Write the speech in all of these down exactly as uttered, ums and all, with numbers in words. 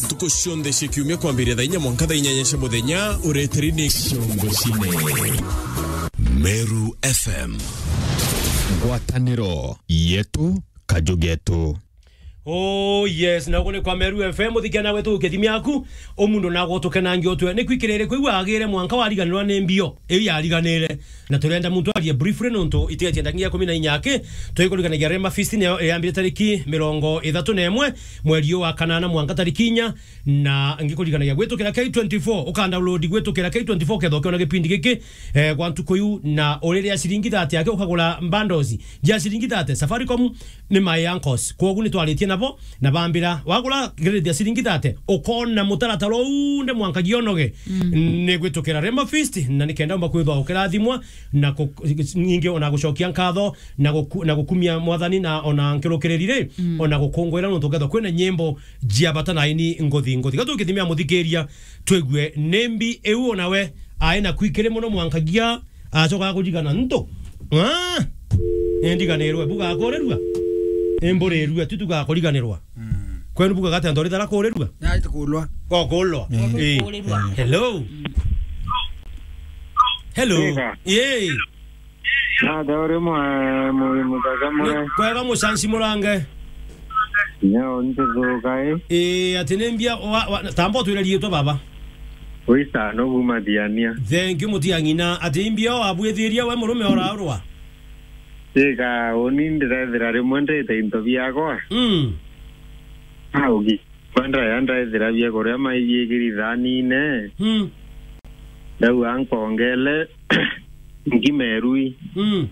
Ntuku cionthe cia kiumia kwambiria thaa inya mwanka thaa inyanya cia muthenya, ureteri ni Ciongo Cine. Meru F M. Ngwataniro yetu, kaju getu. Oh yes, na ugu ni kwa Meru F M, uthikia nawe tu kithimi yaku, umundu na gutukenangia utwe. Ni kwikirire kwigua agire mwanka wariganirwa ni mbio, iu yariganire. Na turenda muntu arie briefly nontu itigatie ndakinya ikumi na inya aki, twikuriganagia Rema Feast niyo yambire tariki mirongo ithatu na imwe mweri uyu wa kanana mwanka tariki inya, na ngikuriganagia gwitukira K twenty-four, uka download gwitukira K twenty-four ketha ukiona gipindi giki, eh, gwa ntuku iu, na uriria ciringi thate aki ukagura bundles ja ciringi thate. Safaricom ni my uncles, kwogu ni twaritie nabo, na bambira, wagura credit ya ciringi thate, ukona mutaratara uu nde mwanka gionoge. Mm. Ni gwitukira Rema Feast, na ni kenda umba kwithwa ukirathimwa, na ku-, ningi ona gucokia nkatho, na guku-, na gukumia Mwathani, na ona nkirukiriri ri, mm, ona gukungwira nontu ukethwa kwina nyimbo cia bata na aini nguthi nguthi. Ga tukithimia muthikiria, twigue ni mbi iu onawe ai na kwikiri muno mwankagia. Acoka kurigana ntu. Ah! Endiganirwe, buga kurirua. Emburirua, tu tugakuriganirwa. Mm. Kwenu buga gati antu rithara kurirua? Na itukulwa. O kulwa. Mm. Eh. Kurirua. Hello. Hello. Ega. Yee. Na da uri mwa mu mutaka mwe. Kwega mucanci murange. Nyo ntithuka i. Eh, ati ni mbia wa, wa, tamba utwire riitwa baba. Wisa no guma Thiania. Thank you, Mutiang'ina. Ati imbia o abwithiria we murume oraurwa? Ika, uni ndirethira rimwe ndite into biakwa. Mm. Augi, kwenda ya ndethira bia kuria maibiikiri thanine. Mm. Ndauga nkongele, nkima irui. Mm.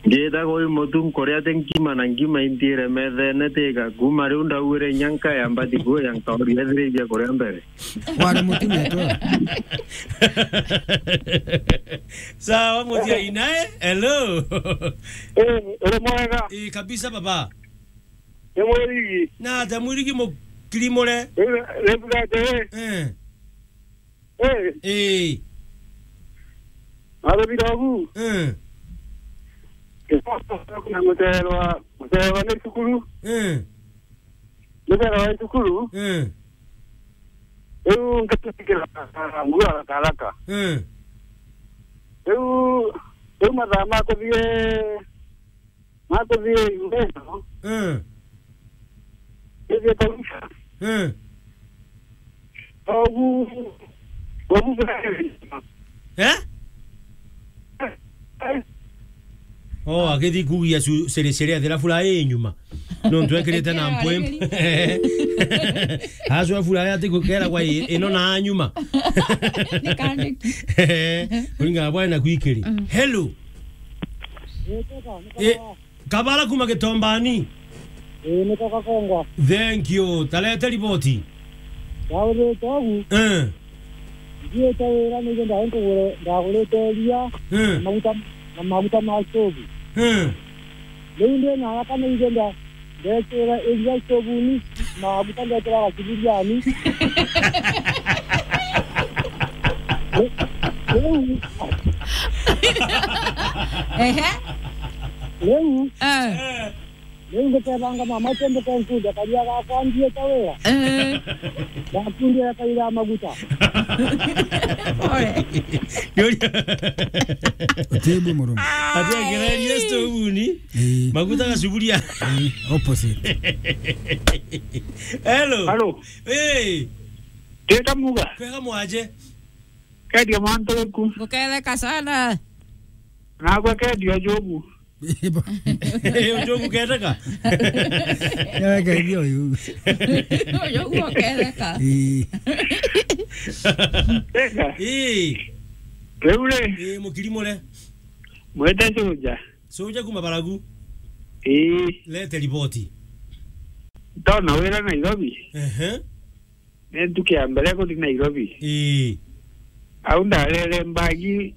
Ngita kwi mutu nkuria ti nkima na nkima intiire methene tika. Kuma riu ndauire inya nkaya mbati kuya nkauria ethira ibia kuria mbere. Wari mutu netwe. Sawa, Mutiang'ina, eh? Hello. Eh, uri mwega? Eh, kabisa baba. Ni mwirigi. Na atia mwirigi mukirimure? Eh, ni mbugate, eh. Eh. Eh. Eh. Arabira ogu. Eh. Kuna muterwa, muterwa ni cukuru. Eh. Muterwa wa cukuru. Eh. Riu ngatutikira nguo haraka haraka. Eh. Riu, riu mathaa ma kuthie Makuthie nyumba ino. Eh. Ithie karuca. Eh. Ogu, ogu. Eh? Eh. Oh, agithi kugia su-, sere sere athira furaha i nyuma. Nontu ekirite na mpwempu. Acwa furaha ati gukera kwa i-, ino na nyuma. Ni kandiki. Kuringana bwa na kwikiri. Mm. Hello. Eh, Kabara kuma Gitombani. Ii, niko Gakongwa. Thank you. Tarete riboti. Ndaurite ogu. Eh. Ndiite wira nigwe ndae nkugure, ndagurite iria, eh, na maguta, na maguta ma stovu. Eh. Riu ndi na haraka nigwe nda-, ndekira iria stovuni, maguta ndekira gacibiriani. Riu. Ehe. Riu. Eh. Riu ngikebanga mama, ati mbuke nkunde karia gakwa ndiite wira. Eh. Ndakundia kaira maguta. Pole. Utebu murume. Ati agererie stovuni. Eh. Maguta gacuburia. Eh, opposite. Hello. Hello. Eh. Teta muga. Kwega mwaje? Kedia mwantu weku. Nguketheka sana. Nagwe kedia jogu. Eh, ujogu keteka? Yawe kedia uyu. Ujogu keteka. Ii. Teka. Ii. Riu ri. Ii, mukirimure. Mwete soja. Soja kuma Baragu. Ii. Lete riboti. Ndona wira Nairobi. Ehe. Ni ntuku ya mbere kuthi Nairobi. Ii. Au ndarere mbagi,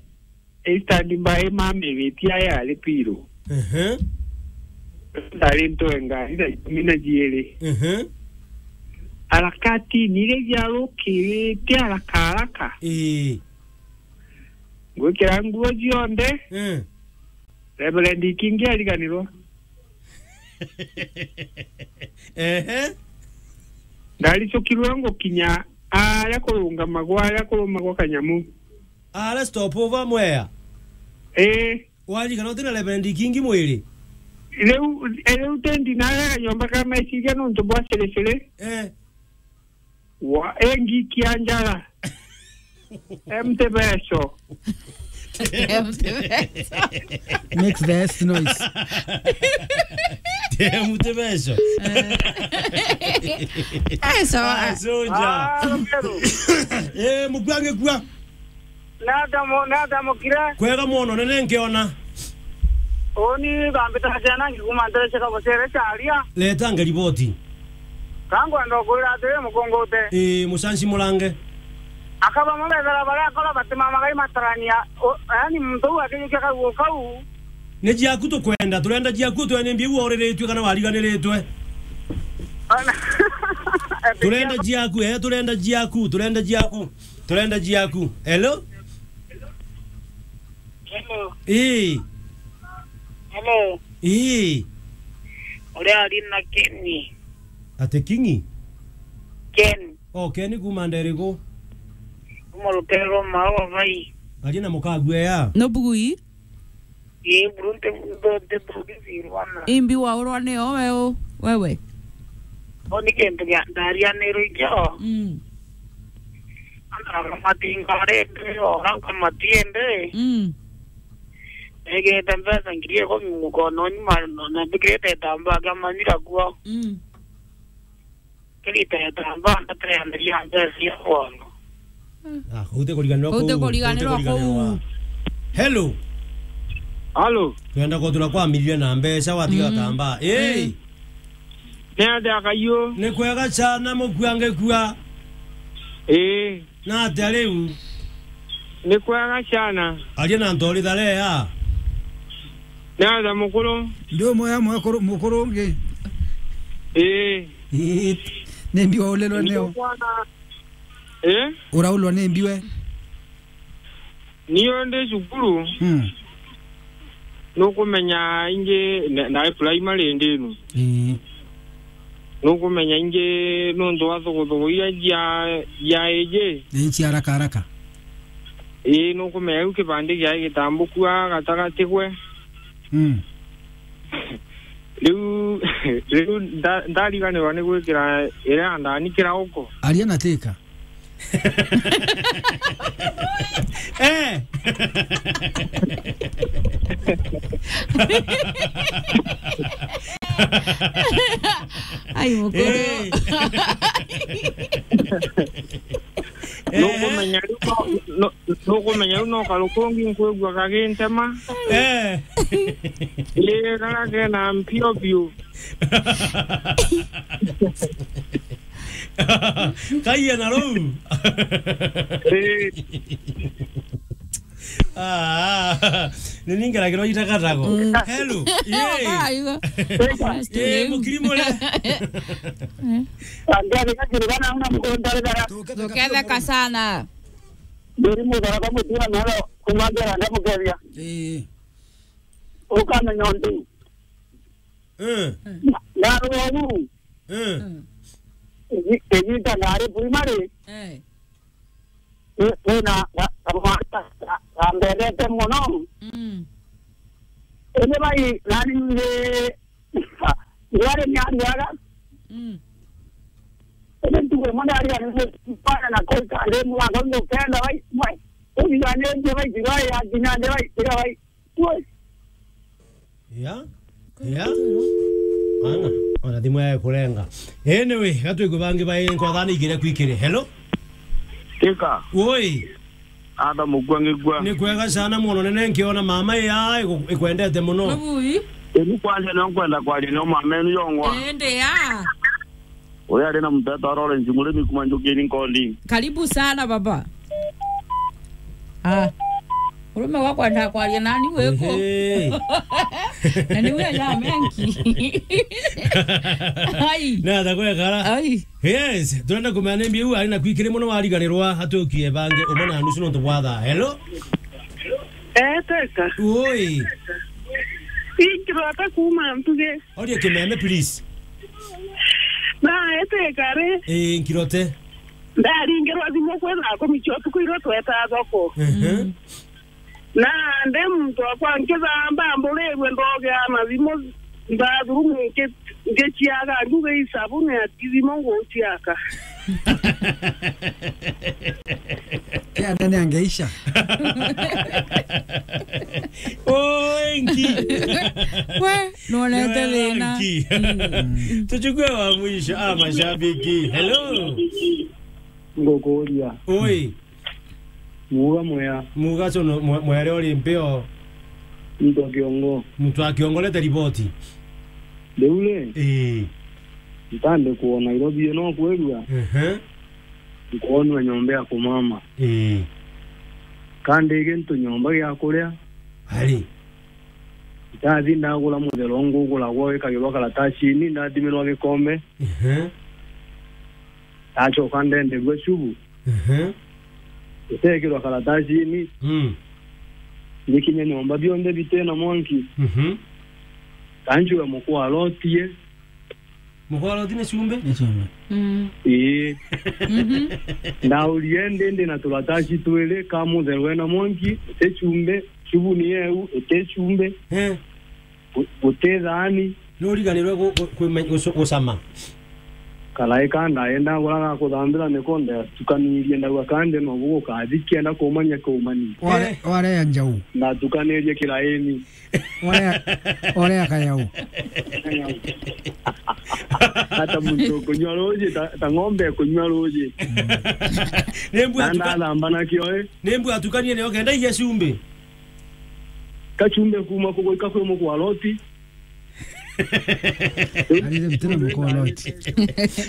i stand by mamigitie aya ari piru. Ehe. Ndari ntwe ngari thaa ikumi na jiiri. Ehe. Harakati nire ciarukirite haraka haraka. Ii. Ngwikira nguo cionthe. Eh. Reverend Ikingi ariganirwa. Ehe. Ndaricukirwe ngukinya aria kurungamagwa, aria kurumagwa kanyamu. Aria stop over Mwea? Ii. Waririkana uti na Reverend Kingi Mwiri? Riu, riu tendi naria kanyomba ka meciria nontu bwa cirisiri. Eh. Wa, engikia njara. Empty vessel. Empty vessel. Makes the best noise. Empty vessel. Eh, sawa. Ah, soja. Ah, Rukero. Eh, mukua ngikua. Nata mo-, nata mukire? Kwega mono, nene nkiona. Uni bambita ciana ngikuma ntere cia Kabocere caria. Leta nge riboti. Ka nkwenda ukwira atiri, mukungute. Ii, mucanci murange. Akaba mabethera baria akora batimamaga imatarania. O, yaani muntu uu akijukia kaugu kau. Ni ciaku tukwenda, turenda ciaku, twene mbi uu oriritue kana wariganiritue. Ana-, Turenda ciaku, eh, turenda ciaku, turenda ciaku. Turenda ciaku. Hello? Hello. Ii. Hello. Ii. Uria ari na Kenny. Ati Kingi? Ken. Oh, Kenny kuma nderiku? Kuma rutero rwa Maua vai. Aria na mukagu ea. No bugui? Ii, buru nti, nti, nti, nti, nti, nti, Imbi waurwa nio weu, wewe? Bo ni kintu gia, ndarianirwe ikio. Mm. Antu matinga rindi, ora nkamatiende. Mm. Egete mbeca ngiri ikumi mukononi, ma-, na mbikirite itambaa kia manyira kuo. Mm. Kirita itambaa, ndateandiria mbeca cia bono. Ah, ute kuriganirwa. Ute kuu, kuriganirwa ute kuriganirwa kuu. Hello. Halo. Twenda kuthura kwa milioni na mbeca watiga mm. Tamba. Hey. Mm. Ni atia kaiyu? Ni kwega sana mukua ngikua. Ii. Na atia riu? Ni kwega sana. Aria na ntori tharea. Ni atia mukuru? Ndi umwe ya mwekuru, mukuru ungi. Ii. Ii. Ni mbi waulirwe nio? Ndi kwana. Ii? Uraulwa ni mbi we? Nio ndi cukuru. Mm. Nukumenya ingi na, na primary ndinu. Ii. Nukumenya ingi nuntu wa thuguthugu iria cia, cia iji. Ni cia haraka haraka. Ii, nukumenya riu kibandi giae gitambukua gatagati gwe. Mm. Riu, riu nda-, ndariganirwa ni gwikira iria ndani kirauko. Aria na tika. Eh. Ai, mukuru. Eh. Nukumenya riu no, no, nukumenya riu no karukungi nkwigua kagintema. Eh. Ii, karia kena mpio biu. Kaiya na ruu. Ii. Ah, ni ningeragirwo itakatako. Mm. Hello. Yee. Aigo. Yee, mukiri mure. Andari kakiri bana una mukondare bara. Tuketheka sana. Ndiri mudhara kwa mutura nalo kumagera ndamukethia. Ii. Ukamenya untu. Eh. Na, na ruu. Eh. Igi-, igita ndari primary. Eh. Ni, ni na, na, na, na, na mbendete muno. Mm. Indi bai, nani nge, ndwari ni ariaga. Mm. Indi ntugo imwe ndariga ni bana na koika ndi mwango ndukenda bai, mwe. Ubiganite bai, kirai ya kinya ndi bai, kira bai. Ui. Ya? Ya? Ana, ona thimu yae kurenga. Anyway, gatwikwe bangi bai nkwathani igire kwikire. Hello? Tika. Ui. Ada mukua ngikua. Ni kwega sana muno nene nkiona mama ya iku-, ikwendete muno. Mabui. Eni kwaria no nkwenda kwaria no mama enu yongwa. Ende ya. Uyu ari na muteta wa Lawrence Murimi kuma Njukiri Nkondi. Karibu sana baba. Ah. Urume wakwa ndakwaria nani wiku? Ehe. Na ni we ya mengi. Ai. Na atakwekara. Ai. Yes, turenda kumenya ni mbiu ari na kwikiri muno wariganirwa atukie bangi umwe na nusu nontu bwa thaa. Hello? Eh, teka. Oi. Ingirwa ata kuma ntuge. Oria kimeme, please. Na Ete kare. Eh, nkirote. Ndaringirwa thimu kwi thaa kumi cia utuku irio tweta thoko. Ehe. Mm. Na ndi muntu akwa nkithamba mburirwe ndogea na thimu mbathurumu nki-, ngiciaga nduge i sabuni ati thimu nguciaka. Kia ndani angeisha. Oi, nki. We, nonete thina. Nki. Mm. Tuchukue wa mwisho. Ah, mashabiki. Hello. Ngukuria. Oi. Muga mwea. Muga so no, mwe-, mwere ori mpeo. Mtu wa kiongo. Mtu wa kiongo, leta riboti. Riu ri, ii, ntande kuona Nairobi ino kwirua. Ehe. Nkwonua nyomba ya kumama. Ii. Kandi gintu nyomba gia kuria. Ari. Ndathi ndagura muthero nguguragwa wikagirwa karatacini, ndathimirwa gikombe. Ehe. Ndacoka ndenderua cubu. Ehe. Itekirwa karatacini. Mm. Ngikinya nyomba bionthe bitena mwanki. Mhm. Kanjua mukwaro tie. Mukwaro ti ni cumbi? Ni cumbi. Mm. Ii. Mhm. Ndaurie ndi, ndi na turataci twiri, ka mutheru ena mwanki, ite cumbi, cubu ni yeu, ite cumbi. Eh. Gu-, guti thaani. Nuriganirwe gu-, gu-, kwime-, gucu-, gucama. Karaika ndaenda gura ga kuthambira niko ndatukanirie ndauga kandi no gugukathi kienda kumania kumania. Ware-, eh, warea njau. Ndatukanirie kiraini. Warea, warea kayau. Hata muntu kunywa ruji, ta, ta ng'ombe kunywa ruji. Ni mbu na atuka-, ndathamba nakio, eh. Ni mbu atukanie nio kenda igia cumbi. Kachumbe kuma kugoika kwi mukwaroti. Arire mtira mukwaroti.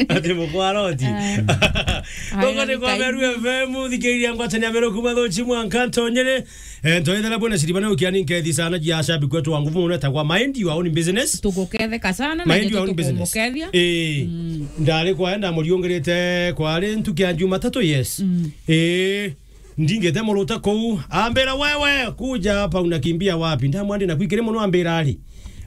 Ati mukwaroti. Ah. Gogo ni kwa Meru F M, thikiriria ngwatania Meru kuma Thuchi mwanka ntonyere. Eh, ntoethera bwana Shiribana ukiani nkethi sana jia shabi kwetu wangu mune tagwa mind your own business. Tuguketheka sana na mind your own business. Eh. Mm. Ndari kwa enda muriungirite kwa ari ntuki ya Jumatatu, yes. Mm. Eh. Ndingite muruta kuu, ambira, "Wewe, kuja hapa, unakimbia wapi?" Ndamwandi na kwikiri muno, ambira ari,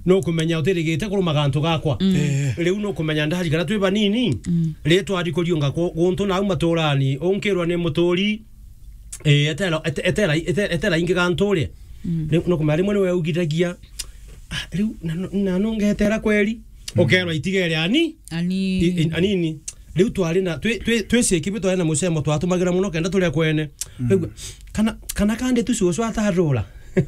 "Nukumenya utirigite kuruma gantu gakwa." Mm. Eh. Riu nukumenya ndari kana twi banini, mm, ri twari kuriunga ku-, guntu nau maturani, unkirwa ni muturi, eh, etera, ete-, etera, ete-, etera ingi gantu ri. Mm. Riu nukumenya rimwe niwe ugithagia, "Ah, riu na, na, na nungetera kweri?" Mm. Ukerwa itigere ani? Ani. I-, i-, anini. Riu twari na, twi, twi, twi ciiki bi twari na mucemo twatumagira muno kenda turia kwene. Mm. Rigua, kana, kana kandi tu cucu atarura. Mm.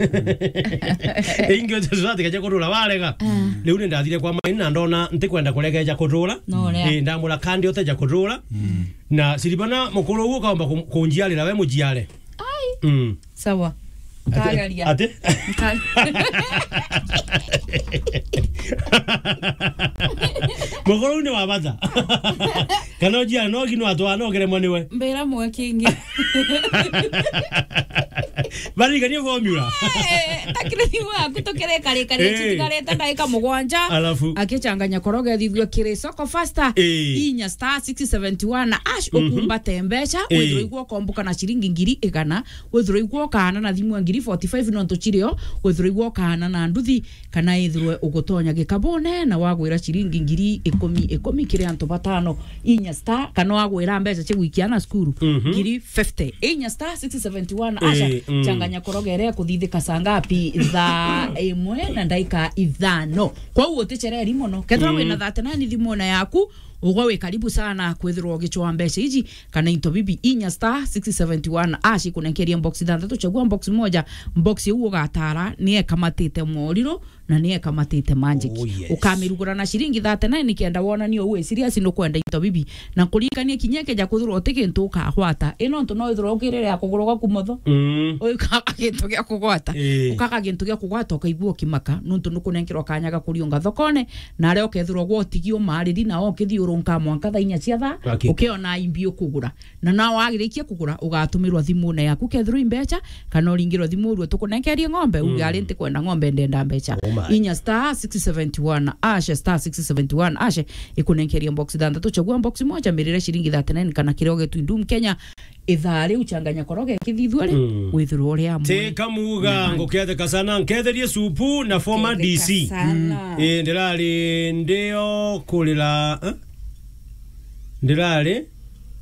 Ingi ucio cucu atikeje kurura warega. Mm. Riu ni ndathire kwa maini na ndona ntikwenda kuregeja kurura. No, ria. Eh, ndamura kandi uteja kurura. Mm. Na Siribana mukuru uguo kaomba ku-, kunjiarira we mujiare. Ai. Mm. Sawa. Ati, nkageria. Ati? Nka- Mukuru ni wa bata. Kana ujia no gino atwa no geremwa niwe. Mbira mwe kingi. Barigania formula. Eh, takire thimu yaku tukire kare kare, eh, tutigarite ndagika mugwanja. Alafu? Akichanganya koroge thithua kiri soko faster. Eh. Inya star six seventy one ash, mhm, ukumbate mbeca, eh, withirwe igwo komboka na ciringi ngiri igana. Withirwa igwo kaana na thimu ya ngiri forty five nontu cirio, withirwa igwo kaana na nduthi, kana ithirwe ugutonya gikabune na wagwira ciringi ngiri ikumi, ikumi kiri antu batano, inya star, kana wagwira mbeca cia gwikia ana cukuru, mhm, ngiri fifty, inya star six seventy one asha, eh, mm, changanya koroga iria ikuthithika saa ngapi? Thaa imwe na ndaika ithano. Kwou utichereri mono. Kethira, mm, wina thirty nine thimune yaku, ugwe wi karibu sana kwithirwa ugichwa mbeca iji, kana into bibi, inya star six seventy one ash ikunenkeria box ithanthatu, chagua box moja. Box iu ugatara ni ekamatite moriro na ni ekamatite magic. Oh, yes. Ukamirugura na ciringi thirty nine nikenda wonanie u wi serious nukwenda into bibi. Na kuririkania kinya ikeja kwithirwa uti gintu ukagwata. I nontu no withirwa ukirire ya kugurwa gwaku motho. Mm. Ukaga gintu gia kugwata. Eh. Ukaga gintu gia kugwata ukaigua ukimaka nontu nukunenkerwa kanya ga kuriunga thokone, na aria ukethirwa gwa utigi umariri na ukithiurunka mwanka thaa inya cia thaa, okay, ukiona imbi ukugura. Na no wagirikia kugura, ugatumirwa thimune yaku, kethirwa i mbeca, kana uringirwa thimu urue tukunenkerie ng'ombe, uge, mm, ari ntikwenda ng'ombe, ndenda mbeca. Oh my. Inya star six seventy one ash, star six seventy one ash, ikunenkeria box ithanthatu, chagua box moja, mirire ciringi thirty nine kana kiria ugetwi ndum Kenya. Ithaa riu changanya koroge kithithua ri, mm, withirwe uri amwe. Teka muga, na nguketheka sana, nketherie supu na former D C. Ketheka sana. Mm. Eh, ndirari ndio kurira, eh? Ndirari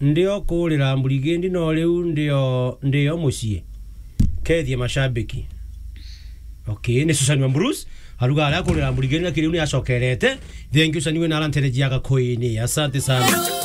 ndio kurira Mburigindi, no riu ndio, ndio mucii. Kethie mashabiki. Okay, ni Susan wa Bruce. Aruga aria kurira Mburigindi, lakini riu ni acokerete. Thank you, Susan, we na aranterejiaga koini. Asante sana.